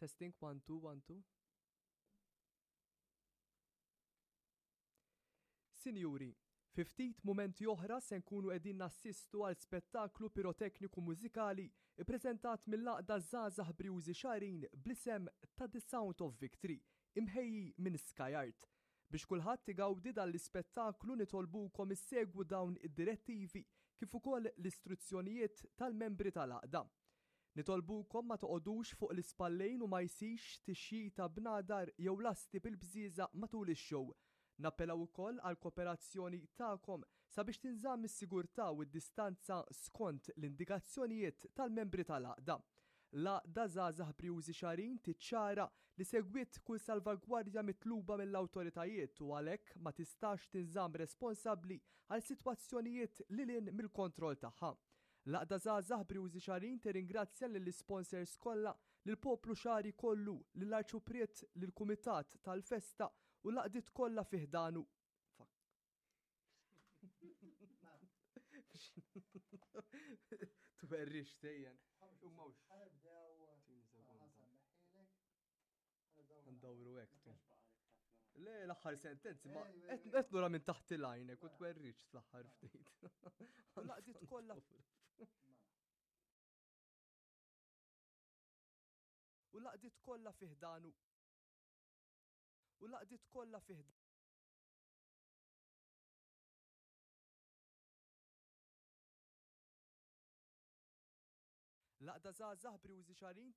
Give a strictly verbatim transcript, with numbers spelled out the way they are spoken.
Testing, one, two, one, two. Sinjuri, fi ftit mumenti oħra se nkunu qegħdin nassistu għal spettaklu pirotekniku mużikali ippreżentat mill-Għaqda Żgħażagħ Brijużi Xagħrin bl-isem ta' The Sound of Victory, imħejji minn Sky Art. Biex kulħadd igawdi dan l-ispettaklu nitolbukom issegwu dawn id-direttivi kif ukoll l-istruzzjonijiet tal-membri tal-għaqda. Nitolbukom ma toqogħdux fuq l-ispallejn u ma jsirx tixjita b'nadar jew lasti bil-bżieżaq matul ix-show. Nappellaw ukoll għall-kooperazzjoni tagħkom sabiex tinżamm is-sigurtà u d-distanza skont l-indikazzjonijiet tal-membri tal-għaqda. L-Għaqda Żgħażagħ Brijużi Xagħrin tiċċara li segwiet kull salvagwardja mitluba mill-awtoritajiet u għalhekk ma tistax tinżamm responsabbli għal sitwazzjonijiet lil hinn mill-kontroll tagħha. L-Għaqda Żgħażagħ Brijużi Xagħrin tirringrazzja lill-isponsors kollha, lill-poplu Xagħri kollu, lill-Arċupriet, lill-Kumitat tal-Festa u l-għaqdiet kollha fi ħdanu. Fuck. Twerrix tejjen. Ndawru hekk tu. Le, l-aħħar sentenzi, ma qed nura minn taħt il-għajnek u twerriċ fl-aħħar ftit. Laqdiet kollha. U laqdiet kollha fi ħdanu. U laqdiet kollha fi L-Għaqda Żgħażagħ Brijużi Xagħrin